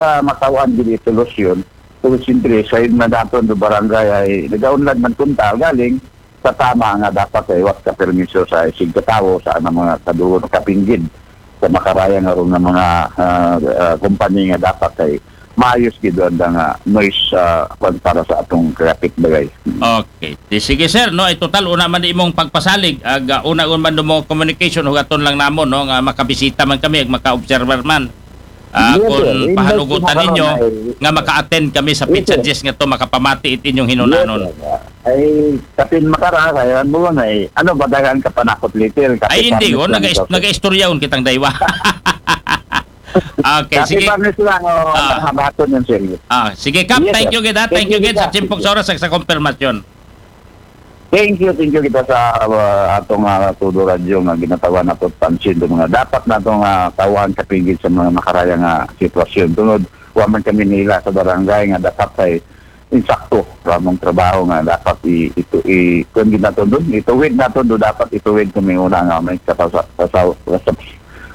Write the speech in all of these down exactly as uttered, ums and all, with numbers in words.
ah, mataw-an gid solusyon. So, siyempre, sa yun na daton do barangay ay nagaunlad man kunta galing sa tama nga dapat ay wat ka permiso sa isig katawo sa anang mga kaduol kapinggid sa makaraya nga ron nga mga, ah, ah, kumpanya nga dapat ay maayos gid ang nga noise, ah, kwan para sa atong kapitbahay. Okay. Di, sige, sir, no, ay total una man imong pagpasalig ag, ah, una man mo communication, hugaton lang namon, no, nga makabisita man kami ag maka-observer man. Ah, Yes, sir. kung Invite pahanugutan ko na ninyo karon ay nga maka-attend kami sa Yes, Pizza sir. Jess nga to, makapamati it inyong Yes, hinunanon. sir. Ay, kapin makara, kaya mo na eh. Ano ba, daghan ka panakot, little? Kapin Ay, hindi, parang oh, naga-, gusto ko. naga-istoryaon kitang daywa. Okay, Kapin sige. parang gusto lang, oh, Ah. ang habaton yung sir. Ah, sige, Kap, Yes, thank sir. you, gid, ha? Thank Thank you, you, gid, sa Kap. timpok sa oras, sa, sa konfirmasyon. Thank you, thank you kita sa, uh, atong, uh, Todo Radyo nga ginatawan nato pansin do mga dapat nato nga tawaan kapinggit sa mga makaraya nga sitwasyon. Tungod, wa man kami nila sa barangay nga dapat ay insakto ra mong trabaho nga dapat i-, ito, i-, kuwan gid nato dun, ituwid nato do dapat ituwid kami una nga may kapasa-, pasa-, pasa-,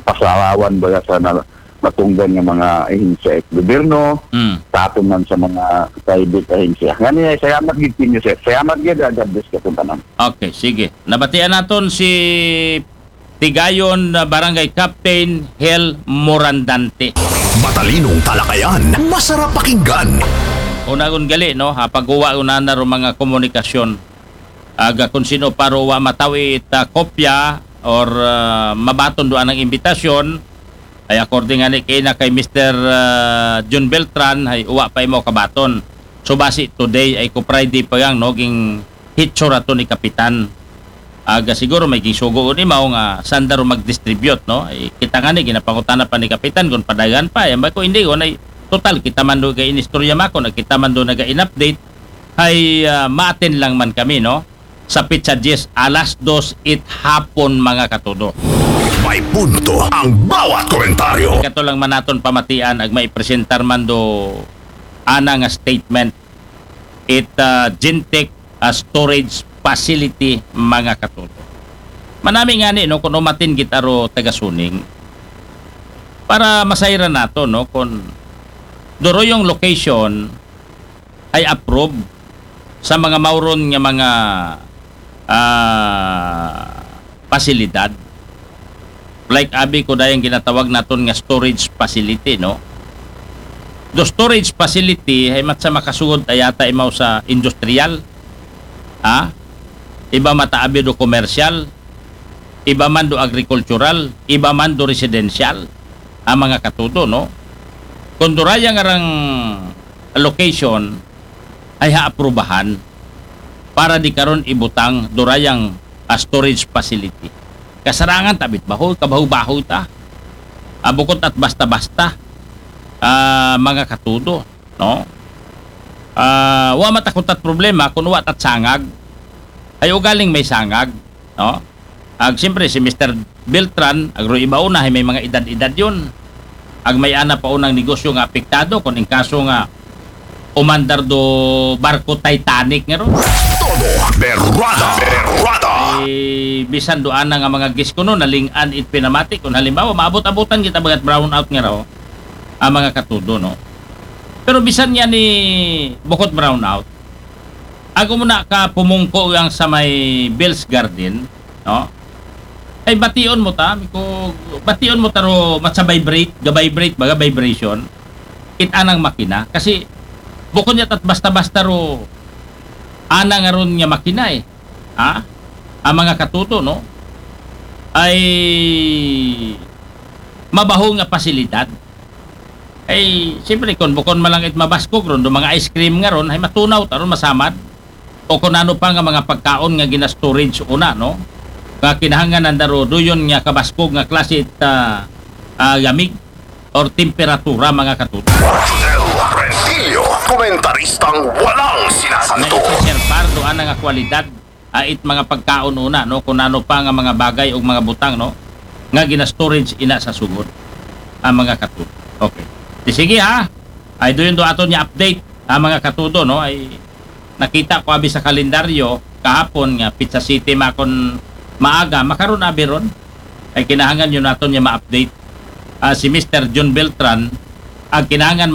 pasalawan ba sa na-, matunggan nga mga ahensya sa gobyerno, Mm. sa aton man sa mga private ahensya. Ngani, salamat gid ninyo, sir. Salamat gid, ah, God bless ka tanan. Okay, sige. Nabatian naton si Tigayon, ah, Barangay Captain Hel Morandante. Matalinong talakayan, masarap pakinggan. Unagon gali, no? Ha, pagguwa una na ro mga komunikasyon. Aga kung sino pa ro wa matawi it, ah, kopya or, ah, mabaton do anang imbitasyon, ay according ani kay na kay Mister, ah, Jun Beltran, ay uwa pa imo kabaton. So, basi today ay ko Friday pa yang, no, ging hitsura to ni Kapitan. Aga siguro may ginsugo ni mao nga sanda ro mag-distribute, no? Ay, kita nga ni, ginapangutana pa ni Kapitan kung padagan pa. Ay, ambay ko, hindi, kung ay, total, kita man do ga-inistorya mako, nagkita man do naga-in-update, ay, ah, ma-attend lang man kami, no? Sa Pizza Jess, alas dos it hapon, mga katudo. May punto ang bawat komentaryo. Kato lang man naton pamatian, ag maipresentar man do ana nga statement, it, ah, Gentech, ah, storage facility, mga katudo. Manami nga ni, no, kung umatin gid aro taga Suning, para masayran nato, no, kung duro yung location, ay approve sa mga mauron nga mga, ah, pasilidad. Like abi ko dayang ginatawag naton nga storage facility, no? Do storage facility ay mat sa makasugod ay yata imaw sa industrial, ha? Iba mataabi do commercial, iba man do agricultural, iba man do residential, ang mga katudo, no? Kung duraya nga rang location ay haaprubahan para di karon ibutang durayang, ah, storage facility. Kasarangan tabit bahoy, kabahoy-bahoy ta. Ah, bukod at basta-basta, ah, mga katudo, no? Ah, wa matakot at problema kung wa tat sangag. Ay ugaling may sangag, no? Ag siyempre, si Mister Beltran, ag ro iba una, ay may mga edad-edad yun. Ag may ana pa unang negosyo nga apektado, kung in kaso nga umandar do barko Titanic nga ron. Todo berwada, berwada. Eh, bisan do ana nga mga guest ko no, naling-an it pinamati. Kung halimbawa, maabot-abutan kita bagat brownout nga raw, ang mga katudo, no? Pero bisan niya ni bukod brownout, ako muna ka pumungko yang sa may Bell's Garden, no? Ay, bation mo ta, ko, bation mo ta ro, mat sa vibrate, ga-vibrate, baga vibration. It anang makina. Kasi, bukod niya tat basta-basta ro, ana nga ron nga makina eh. Ha? Ang mga katuto, no? Ay, mabaho nga pasilidad. Ay, siyempre, kung bukon man lang it mabaskog ron, do mga ice cream nga ron, ay matunaw, taron masamad. O kung ano pa nga mga pagkaon nga gina-storage una, no? Nga kinahanglan ang darudo yun nga kabaskog nga klase it, ah, ah, yamig or temperatura, mga katuto. Rodel Rentillo, komentaristang walang May sinasanto. Sir Pardo, ana nga kwalidad, ah, it mga pagkaon una, no? Kung ano pa nga mga bagay o mga butang, no? Nga gina-storage ina sa sugod. Ang mga katuto. Okay. Di sige, ha? Ay, doon do aton niya update, ah, mga katuto, no? Ay, nakita ko abi sa kalendaryo kahapon nga Pizza City makon maaga, makaron abi ron. Ay kinahanglan yun naton niya ma-update. Ah, si Mister John Beltran, ang kinahanglan